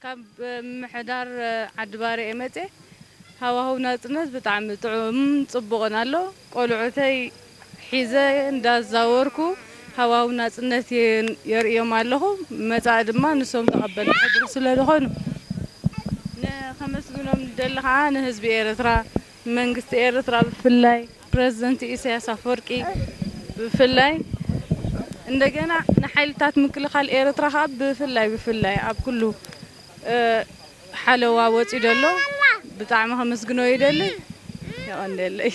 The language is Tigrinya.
ካብ ምሕዳር ዓዲ ባርዕ እየ መፅየ። ሃዋህው ናፅነት ብጣዕሚ ጥዑም ፅቡቕን ኣሎ። ቆልዑተይ ሒዘ እንዳዛወርኩ ሃዋህው ናፅነት የርእዮም ኣለኹ። መፃኢ ድማ ንሶም ተቐበልቲ ሕድሪ ስለ ዝኾኑ ነኸመስግኖም ንደሊ ከዓ ንህዝቢ ኤርትራ፣ መንግስቲ ኤርትራ ብፍላይ ፕረዚደንት ኢሳያስ ኣፈወርቂ ብፍላይ እንደገና ንሓይልታት ምክልኻል ኤርትራ ከዓ ብፍላይ ብፍላይ ኣብ ኩሉ ሓለዋ ወፂኡ ዘሎ ብጣዕሚ ከመስግኖ ይደሊ። የቐንደለይ።